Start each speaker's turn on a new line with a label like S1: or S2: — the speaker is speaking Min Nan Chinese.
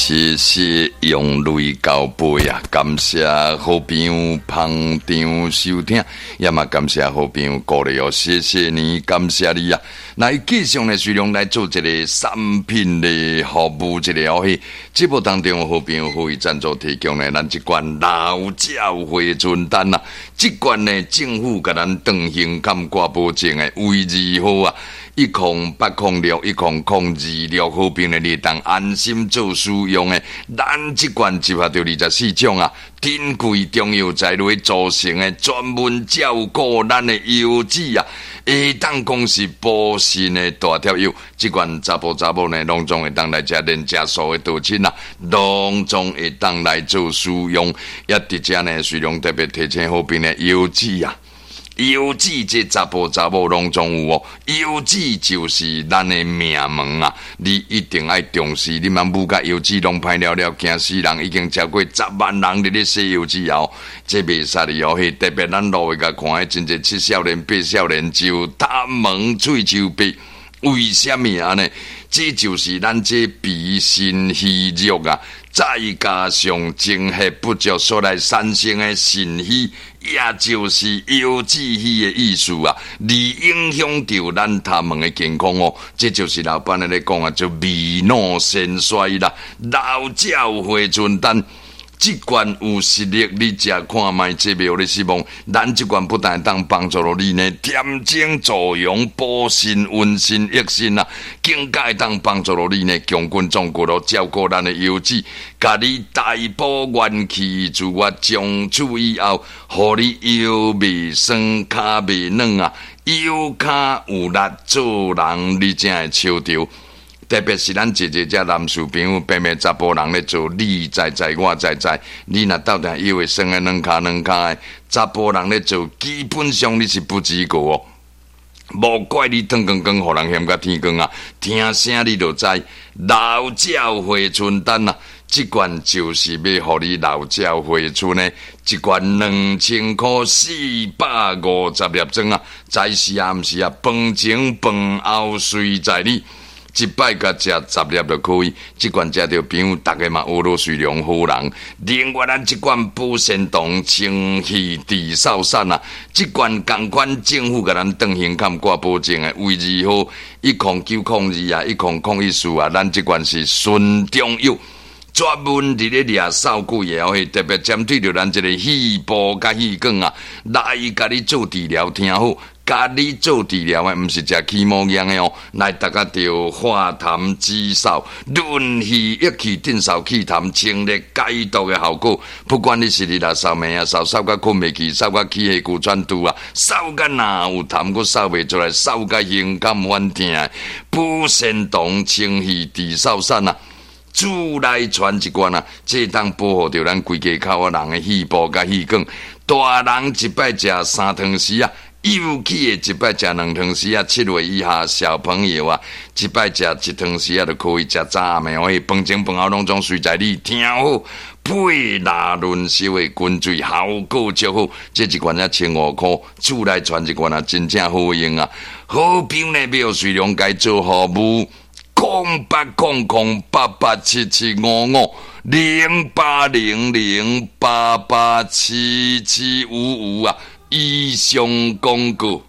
S1: 謝謝用淚交背啊！感謝好朋友捧場收聽，也嘛感謝好朋友鼓勵哦，謝謝你，感謝你啊！來繼續呢，隨量來做一个產品的服務，一个哦，彼節目當中好朋友可以贊助提供呢，咱這罐老鳥回春丹啊，這罐呢政府共咱斷胸坎掛保證的衛字號啊。108061002六，好朋友你會當安心做使用的。咱這罐集合著24種啊，珍貴中藥材來組成的，專門照顧咱的腰子啊，會當講是補腎的大帖藥。這罐查埔查某呢，攏總會當來食，連食素的道親啊，攏總會當來做使用。也佇遮呢，雖然特別提醒好朋友腰子啊。腰子這查埔查某攏總有哦，腰子就是咱的命門啊！你一定愛重視，你茫舞甲腰子攏歹了了，驚死人！已經超過10萬人佇咧洗腰子哦，這袂使哩哦。彼特別咱路會共看，真濟七少年八少年就頭毛喙鬚白，為啥物按呢？這就是咱這脾腎虛弱啊，再加上精血不足所來產生的腎虛，也就是腰子虛的意思啊，而影響著咱頭毛的健康哦。這就是老闆咧講啊，就未老先衰啦，老鳥回春丹。這罐有實力，你食看覓，這袂予你失望。咱這罐不但會當幫助著你呢，恬精助陽、補腎、溫腎、益腎啊，更加會當幫助著你呢，強筋壯骨咯，照顧咱的腰子，共你大補元氣，自我從此以後，予你腰袂酸、跤袂軟啊，腰跤有力做人，你才會笑著。特別是咱濟濟遮男士朋友，平平查埔人咧做，你知知我知知，你若鬥定腰會酸的軟跤軟跤的，查埔人咧做，基本上你是不及格哦。無怪你轉光光，予人嫌甲天光啊！聽聲你就知，老鳥回春丹啊！這罐就是欲予你老鳥回春的，一罐2000箍450粒裝啊！早時啊，毋是啊，飯前飯後隨在你。一擺共食10粒就可以，這罐食著朋友，逐家嘛學落隨良好人。另外，咱這罐保鮮糖清氣治嗽散啊，這罐仝款政府共咱斷胸坎掛保證的，衛字號10902啊，1014啊，咱這罐是純中藥。專門佇咧掠嗽鬼的哦，特別針對著咱這个肺部佮氣管啊，來共你做治療，聽好。共你做治療的，毋是食起毛藥的哦，來逐家著化痰止嗽、潤肺益氣、鎮嗽去痰、清熱解毒的效果。不管你是日若嗽暝啊嗽，嗽甲睏袂去，嗽甲起氣龜喘肚啊，嗽甲若有痰閣嗽袂出來，嗽甲胸坎反疼，補腎糖清肺治嗽散啊！主來傳一罐啊，這當保護著咱規家口仔人的肺部佮氣管。大人一擺食3湯匙啊，幼齒的一擺食2湯匙啊，7歲以下小朋友啊，一擺食1湯匙啊就可以。食早暗暝可以，飯前飯後攏總隨在你。聽好，配拉潤燒的滾水，效果足好。這一罐才1500箍，厝內傳一罐啊，真正好用啊！好朋友呢，欲隨量共做服務，0800887755，0800887755啊！以上廣告。